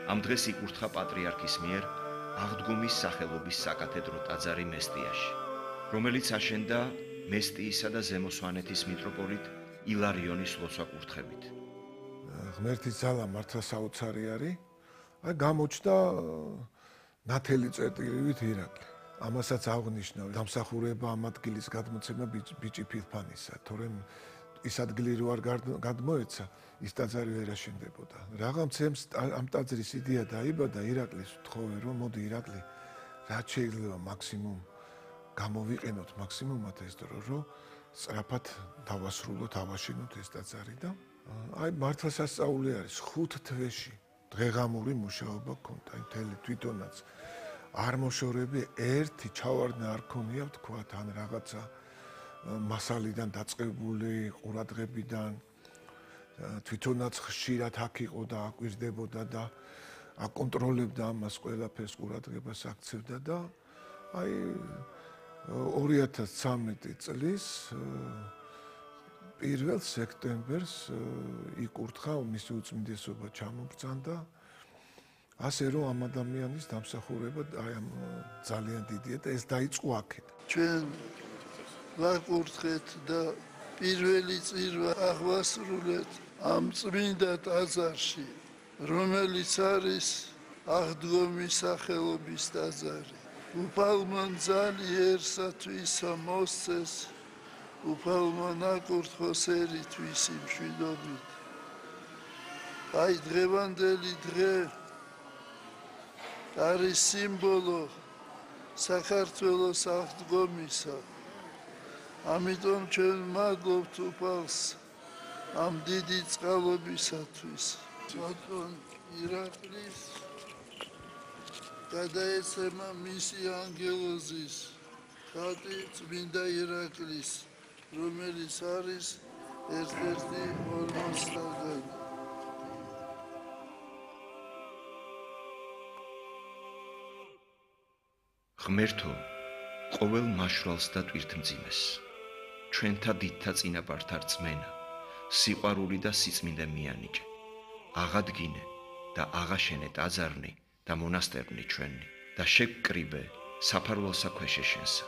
ამ დღეს იკურთხა პატრიარქის მიერ აღდგომის სახელობის საკათედრო ტაძარი მესტიაში, რომელიც აშენდა მესტიისა და ზემო სვანეთის მიტროპოლიტ ილარიონის ლოცვა-კურთხებით. ღმერთის ძალა მართლა საოცარი არის. აი გამოჩნდა ნათელი წერტილივით ირაკლი. ამასაც აღნიშნავ დამსახურება ამ ადგილის გადმოცემა ბიჭი ფილფანისა, თორემ ის ადგილი რო არ გადმოეცა, ის ტაძარი ვერ აშენდებოდა. რაღაცემს ამ ტაძრის იდეა დაიბადა ირაკლის თხოვე რომ მოდი ირაკლი, რაც შეიძლება მაქსიმუმ გამოვიყენოთ მაქსიმუმად ეს დრო, რომ სწრაფად დავასრულოთ, ავაშენოთ ეს ტაძარი და აი მართლა სასწაული არის 5 თვეში დღეღამური მუშაობა ქონდა, აი მთელი თვითონაც არ მოშორები ერთი ჩავარდნა არ ქონია ვთქვათ, ან რაღაცა მასალიდან დაწყებული ყურადღებიდან თვითონაც ხშირად აქ იყო და აკვირდებოდა და აკონტროლებდა ამას ყველაფერს ყურადღებას აქცევდა და აი 2013 წლის 1 სექტემბერს იკურთხა მისი უწმინდესობა ჩამობრძანდა ასე რომ ამ ადამიანის დამსახურება აი ამ ძალიან დიდია და ეს დაიწყო აქეთ. ჩვენ ვაკურთხეთ და პირველი წირვა აღვასრულეთ ამ წმინდა ტაძარში, რომელიც არის აღდგომის სახელობის ტაძარი. უფალმა ძალიერსათვის მოსცეს, უფალმა ნაკურთხოს ერთვის მშვიდობით. აი დღევანდელი დღე არის სიმბოლო საქართველოს აღდგომისა. ამიტომ ჩვენ მადლობთ უფალს ამ დიდი წყალობისათვის. ბატონ ირაკლის გადაეცემა მისი ანგელოზის ხატი წმინდა ირაკლის, რომელიც არის ერთ-ერთი ორმოსთაგანი. ღმერთო, ყოველ მაშვალს და ტვირთმძიმეს, ჩვენთა დიდთა წინაპართა რწმენა, სიყვარული და სიწმინდე მიანიჭე, აღადგინე და აღაშენე ტაძარნი და მონასტერნი ჩვენი და შეგკრიბე საფარველსა ქვეშეშენსა.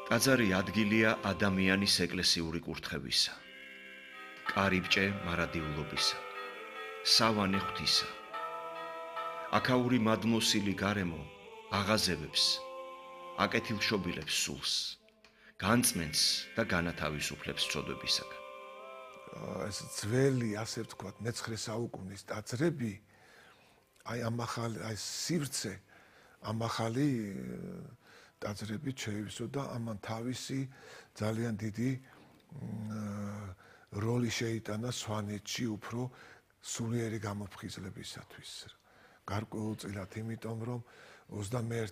ტაძარი ადგილია ადამიანის ეკლესიური კურთხევისა, კარიბჭე მარადილობისა, სავანე ღვთისა. აქაური მადმოსილი გარემო აღაზევებს, აკეთილშობილებს სულს, განწმენს და განათავისუფლებს ცოდვებისაგან. ეს ძველი, ასე ვთქვათ, მე-9 საუკუნის ტაძრები, აი ამ ახალი, აი სივრცე, ამ ახალი ტაძრები შეივსო და ამან თავისი ძალიან დიდი როლი შეიტანა სვანეთში უფრო სულიერი გამოფხიზლებისათვის. გარკვეულწილად, იმიტომ რომ 21